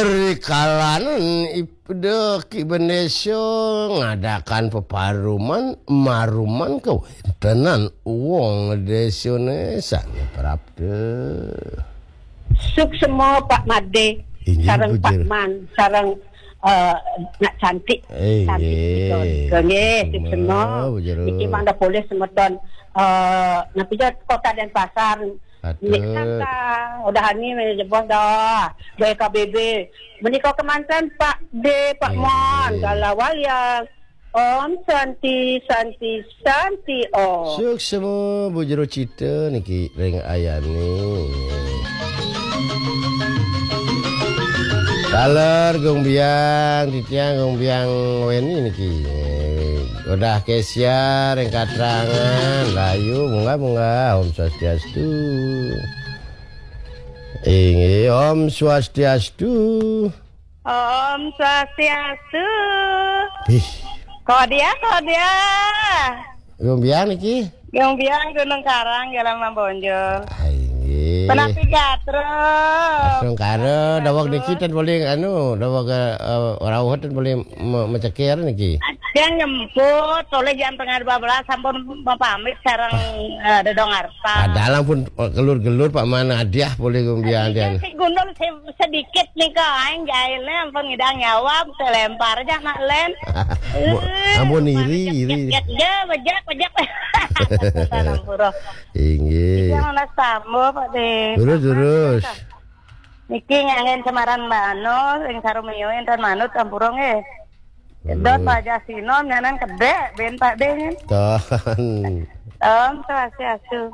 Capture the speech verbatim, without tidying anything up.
Rikalanan ipda Ki Bendesa ngadakan peparuman, maruman kawentenan wong desane sane prapta. Suksma Pak Made, inggih, sareng Pak Puja. Man, sareng, eh, Nak Cantik. Inggih. Cantik betul. Nggih, suksma, suksma. Puja. Niki mangda polih semeton, eh, napi ja Kota Denpasar. Patut. Nik Santa, udah ani jebos dah. B K B B. Menika kemanten Pak De, Pak Mon, inggih. Kala walian. Om Santi, Santi, Santi Om. Suksma Bu Jero Cita niki ring ayane. Taler Gung Biang, titiang Gung Biang Weni niki. Udah kesia ring katrangan, layu munggah-munggah. Om Swastiastu. Inggih, Om Swastiastu. Om Swastiastu. Ih. Kodia, kodia. Gung Biang niki? Gung Biang Gunung Karang, Jalan Mambonjol. Ah, inggih. Penapi gatra. Astungkara, daweg niki ten paling anu, daweg, eh, rauh ten paling me-, meceker niki. Yang nyemput, oleh jam tengah dua belas sampun mapamit sareng, eh, Dedong Arta. Padahal ampun kelur-kelur Pak Mana hadiah polih Gung Biang. Iya, ten. Si gundul se-, sedikit nika, aing jailne ampun ngidang nyawab, selempar aja nak len. Bu, eh, ampun iri, iri. Jek, jek, jek, bejek, bejek. Sampura. Inggih. Iya, mana sambo, Pak De. Terus, terus. Niki nganggen semaran Mbak Anu, sing sarumio enten manut sampura nggih. Dot Wajah Sinom nyanan kedek ben Pak De nyen. Ton. Om Swastiastu.